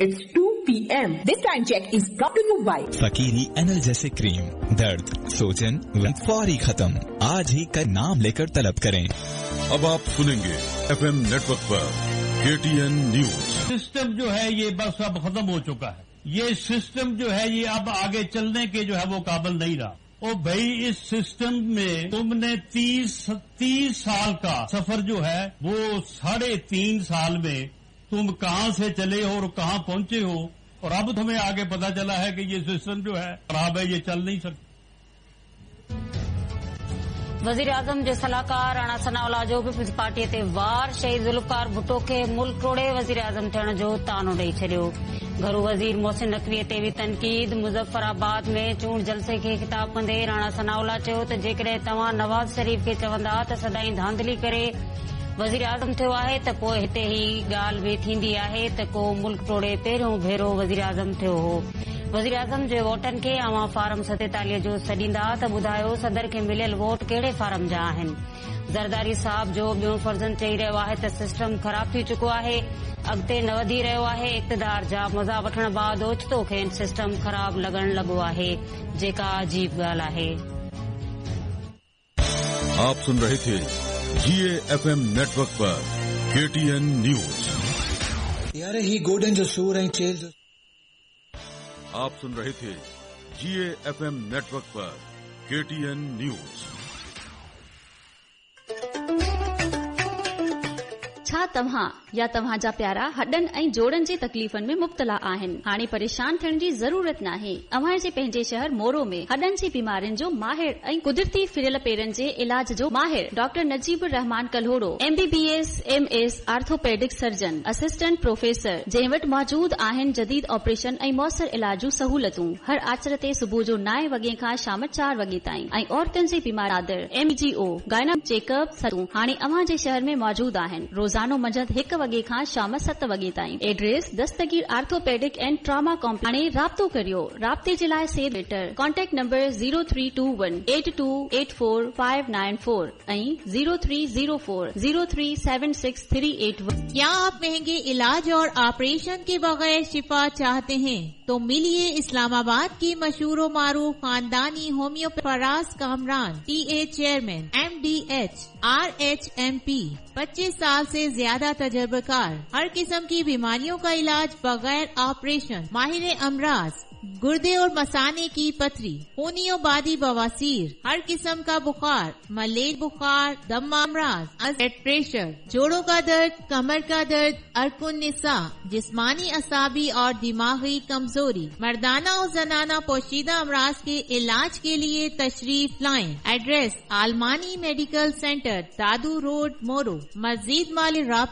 It's 2 p.m. This time check is brought to you by Fakiri analgesic cream, दर्द, सोजन फौरी खत्म। आज ही का नाम लेकर तलब करें। अब आप सुनेंगे एफएम नेटवर्क पर केटीएन न्यूज। सिस्टम जो है ये बस अब खत्म हो चुका है। ये सिस्टम जो है ये अब आगे चलने के जो है वो काबिल नहीं रहा। ओ भाई, इस सिस्टम में तुमने 30 साल का सफर जो है वो 3.5 साल में तुम कहां से चले हो और कहां पहुंचे हो, और अब तुम्हें आगे पता चला है कि ये सिस्टम जो है खराब है, ये चल नहीं सकता। वज़ीर आज़म जे सलाहकार राणा सनाउल्लाह जो पीपल्स पार्टीअ ते वार, शहीद ज़ुल्फ़कार भुट्टो खे मुल्क टोड़े वज़ीर आज़म थियण जो तानो ॾेई छॾियो। घरू वज़ीर मोहसिन नकवीअ ते बि तनक़ीद। मुज़फ़्फ़राबाद में चूंड जलसे खे ख़िताब कंदे राणा सनाउल्लाह चयो त जेकॾहिं तव्हां नवाज़ शरीफ़ खे चवंदा त सदाईं धांधली करे वज़ीर आज़म थियो आहे त पोइ हिते ही ॻाल्हि बि थींदी आहे त को मुल्क टोड़े पहिरियों भेरो वज़ीर आज़म थियो हो। वज़ीर आज़म जे वोटनि खे अव्हां फार्म 47 जो सॾींदा त ॿुधायो सदर खे मिलियल वोट कहिड़े फार्म जा आहिनि। ज़रदारी साहब जो ॿियो फर्ज़ंद चई रहियो आहे त सिस्टम ख़राब थी चुको आहे, अॻिते न वधी रहियो आहे। इक़्तिदार जा मज़ा वठण बाद ओचितो खेनि सिस्टम ख़राब लॻण लॻो आहे, जेका अजीब ॻाल्हि आहे। आप सुन रहे थे जीए एफएम नेटवर्क पर केटीएन न्यूज। यार ही गोॾनि जो सूर ऐं चेल जो। आप सुन रहे थे जीए एफएम नेटवर्क पर केटीएन न्यूज। छा तव्हां या तव्हां जा प्यारा हॾनि ऐं जोड़नि जे तकलीफ़नि में मुब्तला आहिनि? हाणे परेशान थियण जी ज़रूरत नाहे। अव्हां जे पंहिंजे शहर मोरो में हॾनि जी बीमारियुनि जो माहिर ऐं कुदरती फिरियल पेरनि जे इलाज जो माहिर doctor Najib Rahman Kalhoro, MBBS, MS, orthopaedic surgeon, assistant professor, जंहिं वटि मौजूद आहिनि जदीद ऑपरेशन ऐं मौसर इलाज जूं सहूलियतूं। हर आचर ते सुबुह जो 9 वॻे खां शाम 4 वॻे ताईं ऐं औरतुनि जे बीमार एमजीओ गायना चेकअप हाणे अव्हां जे शहर में मौजूद आहिनि। रोज़ानो मंझंदि 1 वॻे खां शाम 7 वॻे ताईं। Address Dastgir orthopaedic and trauma complex. हाणे राब्तो करियो। राब्ते जे लाइ सेव letter contact number 0321 8284594 ऐं 0304 0376381। क्या आप महंगे इलाज और ऑपरेशन के बगैर शिफा चाहते हैं? तो मिलिए इस्लामाबाद की मशहूर मारूफ खानदानी homeopath Faraz Kamran, TA chairman, MDH, RHMP, 25 साल से ज्यादा तजर्बेकार, हर किस्म की बीमारियों का इलाज बगैर ऑपरेशन, माहिर अमराज, गुर्दे और मसाने की पथरी, खूनी और बादी बवासीर, हर किस्म का बुखार, मलेरिया बुखार, दमा अमराज, ब्लड प्रेशर, जोड़ों का दर्द, कमर का दर्द, अर्कुन निसा, जिस्मानी असाबी और दिमागी कमजोरी, मर्दाना और जनाना पोशीदा अमराज के इलाज के लिए तशरीफ लाएं। Address Almani medical centre, Dadu road, Moro. मजीद माली राब्ता